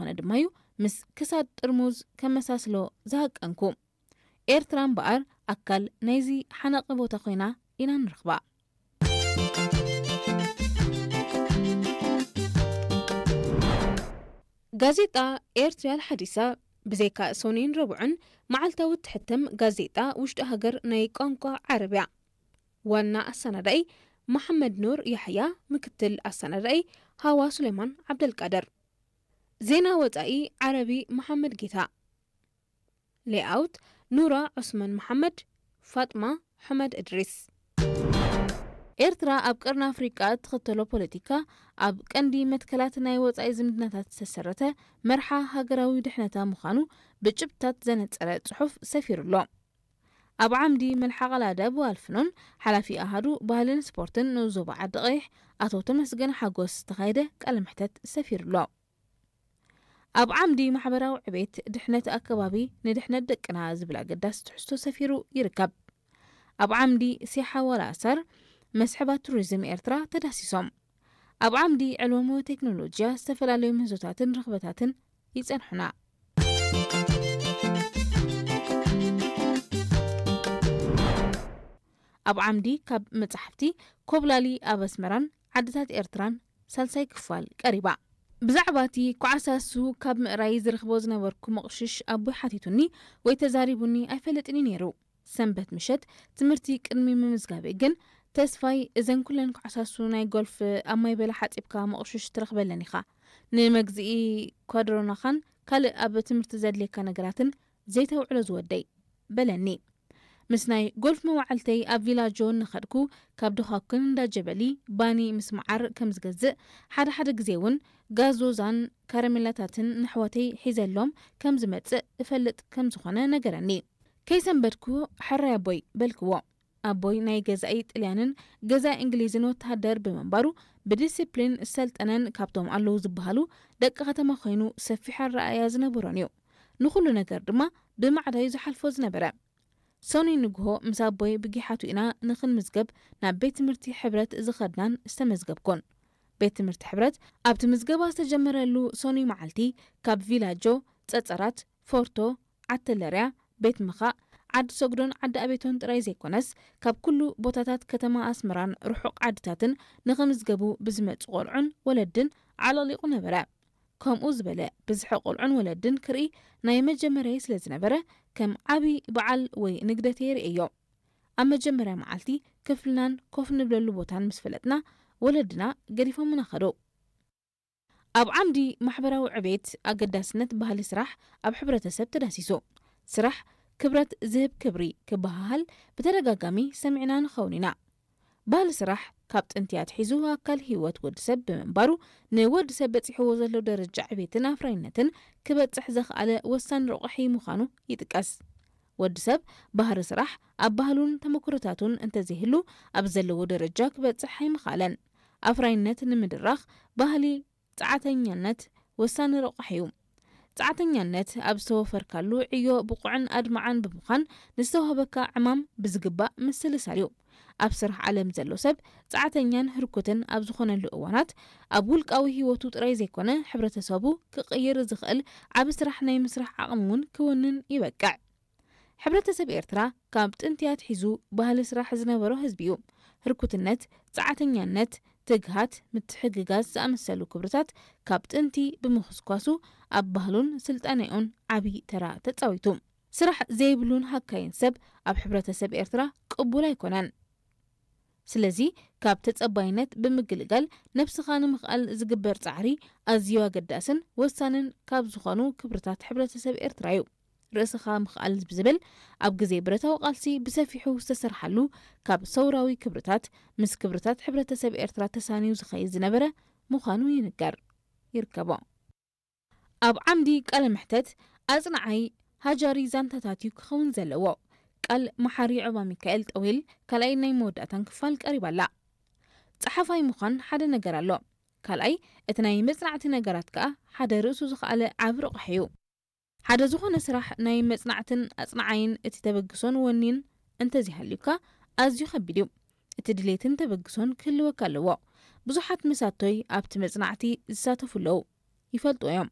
ዝኾነ ድማ እዩ ምስ ክሳድ ጥርሙዝ ከመሳስሎ ዝሃቀንኩ። ኤርትራ እምበኣር ኣካል ናይዚ ሓናቒ ቦታ ኮይና ኢና ንረኽባ። ጋዜጣ ኤርትርያ ኣልሓዲሳ ብዘይካ ሰኑይን ረቡዕን መዓልታዊ እትሕተም ጋዜጣ ውሽጢ ሃገር ናይ ቋንቋ ዓረብ እያ። ዋና ኣሰናዳኢ መሓመድ ኑር ያሕያ፣ ምክትል ኣሰናዳኢ ሃዋ ሱሌማን ዓብደልቃድር። ዜና ወጻኢ ዓረቢ መሓመድ ጌታ። ሌኣውት ኑራ ዑስማን መሓመድ፣ ፋጥማ ሑመድ እድሪስ። ኤርትራ ኣብ ቀርኒ ኣፍሪቃ እትኽተሎ ፖለቲካ ኣብ ቀንዲ መትከላት ናይ ወጻኢ ዝምድናታት ዝተሰረተ መርሓ ሃገራዊ ድሕነታ ምዃኑ ብጭብጥታት ዘነጸረ ጽሑፍ ሰፊሩ ኣሎ። ኣብ ዓምዲ መልሓቕ ኣላደብ ዋልፍኖን ሓላፊ ኣሃዱ ባህልን ስፖርትን ንኡስ ዞባ ዓዲ ቀይሕ ኣቶ ተመስገን ሓጎስ ዝተኻየደ ቃለ መሕተት ሰፊሩ ኣሎ። ኣብ ዓምዲ ማሕበራዊ ዕቤት ድሕነት ኣከባቢ ንድሕነት ደቅና ዝብል ኣገዳሲ ትሕዝቶ ሰፊሩ ይርከብ። ኣብ ዓምዲ ሲሓ ዋላ ኣሳር መስሕባት ቱሪዝም ኤርትራ ተዳሲሶም። ኣብ ዓምዲ ዕልወሞ ቴክኖሎጂያ ዝተፈላለዩ ምህዞታትን ርኽበታትን ይጸንሑና። ኣብ ዓምዲ ካብ መጻሕፍቲ ኮብላሊ ኣብ ኣስመራን ዓድታት ኤርትራን ሳልሳይ ክፋል ቀሪባ። ብዛዕባ እቲ ኳዕሳሱ ካብ ምእራይ ዝረኽቦ ዝነበርኩ መቕሽሽ ኣቦይ ሓቲቱኒ ወይ ተዛሪቡኒ ኣይፈልጥን እዩ ነይሩ። ሰንበት ምሸት ትምህርቲ ቅድሚ ምምዝጋበይ ግን ተስፋይ እዘን ኩለን ኳዕሳሱ ናይ ጎልፍ ኣብ ማይ በላ ሓጺብካ መቕሽሽ ትረኽበለን ኢኻ። ንመግዝኢ ኳድሮናኻን ካልእ ኣብ ትምህርቲ ዘድልየካ ነገራትን ዘይተውዕሎ ዝወደይ በለኒ። ምስ ናይ ጎልፍ መዋዕልተይ ኣብ ቪላጆ እናኸድኩ ካብ ድኻኩን እንዳጀበሊ ባኒ ምስ መዓር ከም ዝገዝእ፣ ሓደ ሓደ ግዜ እውን ጋዞዛን ካረሜላታትን ንኣሕዋተይ ሒዘሎም ከም ዝመጽእ እፈልጥ ከም ዝኾነ ነገረኒ። ከይሰንበድኩ፣ ሕራይ ኣቦይ በልክዎ። ኣቦይ ናይ ገዛኢ ጥልያንን ገዛኢ እንግሊዝን ወተሃደር ብምንባሩ ብዲሲፕሊን ዝሰልጠነን ካብቶም ኣለዉ ዝበሃሉ ደቂ ከተማ ኮይኑ ሰፊሕ ኣረኣእያ ዝነበሮን እዩ። ንኹሉ ነገር ድማ ብማዕዳዩ ዝሓልፎ ዝነበረ። ሰኑይ ንግሆ ምስ ኣቦይ ብጊሓቱ ኢና ንኽንምዝገብ ናብ ቤት ትምህርቲ ሕብረት ዝኸድናን ዝተመዝገብኩን። ቤት ትምህርቲ ሕብረት ኣብቲ ምዝገባ ዝተጀመረሉ ሰኑይ መዓልቲ ካብ ቪላጆ፣ ጸጸራት፣ ፎርቶ፣ ዓተለርያ፣ ቤት ምኻእ፣ ዓዲ ሰጉዶን ዓዲ ኣቤቶን ጥራይ ዘይኮነስ ካብ ኩሉ ቦታታት ከተማ ኣስመራን ርሑቕ ዓድታትን ንኽምዝገቡ ብዝመጹ ቆልዑን ወለድን ዓለቕሊቑ ነበረ። ከምኡ ዝበለ ብዝሒ ቆልዑን ወለድን ክርኢ ናይ መጀመርያይ ስለ ዝነበረ፣ ከም ዓቢ በዓል ወይ ንግደት እየ ርእየዮ። ኣብ መጀመርያ መዓልቲ ክፍልናን ኮፍ ንብለሉ ቦታን ምስ ፈለጥና፣ ወለድና ገዲፎምና ከዱ። ኣብ ዓምዲ ማሕበራዊ ዕቤት ኣገዳስነት ባህሊ ስራሕ ኣብ ሕብረተሰብ ተዳሲሱ። ስራሕ ክብረት ዝህብ ክብሪ ክበሃሃል ብተደጋጋሚ ሰሚዕና ንኸውን ኢና። ባህሊ ስራሕ ካብ ጥንቲ ኣትሒዙ ኣካል ህይወት ወዲ ሰብ ብምንባሩ፣ ንወዲ ሰብ በጺሕዎ ዘሎ ደረጃ ዕቤትን ኣፍራይነትን ክበጽሕ ዘኽኣለ ወሳኒ ረቑሒ ምዃኑ ይጥቀስ። ወዲ ሰብ ባህሪ ስራሕ ኣብ ባህሉን ተመክሮታቱን እንተዘይህሉ፣ ኣብ ዘለዎ ደረጃ ክበጽሕ ኣይምኽኣለን። ኣፍራይነት ንምድራኽ ባህሊ ጸዓተኛነት ወሳኒ ረቑሒ እዩ። ጸዓተኛነት ኣብ ዝተወፈርካሉ ዕዮ ብቑዕን ኣድማዕን ብምዃን ንዝተዋህበካ ዕማም ብዝግባእ ምስልሳል እዩ። ኣብ ስራሕ ዓለም ዘሎ ሰብ ጸዓተኛን ህርኩትን ኣብ ዝኾነሉ እዋናት ኣብ ውልቃዊ ህይወቱ ጥራይ ዘይኮነ ሕብረተሰቡ ክቕይር ዝኽእል ዓቢ ስራሕ ናይ ምስራሕ ዓቕሚ እውን ክውንን ይበቅዕ። ሕብረተሰብ ኤርትራ ካብ ጥንቲ ኣትሒዙ ባህሊ ስራሕ ዝነበሮ ህዝቢ እዩ። ህርኩትነት፣ ጸዓተኛነት፣ ትግሃት፣ ምትሕግጋዝ ዝኣመሰሉ ክብርታት ካብ ጥንቲ ብምኹስኳሱ ኣብ ባህሉን ስልጣኔኡን ዓቢ ተራ ተጻዊቱ። ስራሕ ዘይብሉን ሃካይን ሰብ ኣብ ሕብረተሰብ ኤርትራ ቅቡል ኣይኮነን። ስለዚ ካብ ተጸባይነት ብምግልጋል ነብስኻ ንምኽኣል ዝግበር ጻዕሪ ኣዝዩ ኣገዳስን ወሳንን ካብ ዝኾኑ ክብርታት ሕብረተሰብ ኤርትራ እዩ። ርእስኻ ምኽኣል ብዝብል ኣብ ግዜ ብረታዊ ቃልሲ ብሰፊሑ ዝተሰርሓሉ ካብ ሰውራዊ ክብርታት ምስ ክብርታት ሕብረተሰብ ኤርትራ ተሳንዩ ዝኸይድ ዝነበረ ምዃኑ ይንገር። ይርከቦ። ኣብ ዓምዲ ቃለ መሕተት ኣጽናዓይ ሃጃሪ ዛንታታት እዩ ክኸውን ዘለዎ። ቃል መሓሪ ዑባ ሚካኤል ጠዊል ካልኣይ ናይ መወዳእታን ክፋል ቀሪባ ኣላ። ጸሓፋይ ምዃን ሓደ ነገር ኣሎ። ካልኣይ እቲ ናይ መጽናዕቲ ነገራት ከኣ ሓደ ርእሱ ዝኸኣለ ዓቢ ረቑሒ እዩ። ሓደ ዝኾነ ስራሕ ናይ መጽናዕትን ኣጽናዓይን እቲ ተበግሶን ወኒን እንተዘይሃልዩካ ኣዝዩ ከቢድ እዩ። እቲ ድሌትን ተበግሶን ክህልወካ ኣለዎ። ብዙሓት መሳቶይ ኣብቲ መጽናዕቲ ዝሳተፉ ኣለዉ። ይፈልጡ እዮም።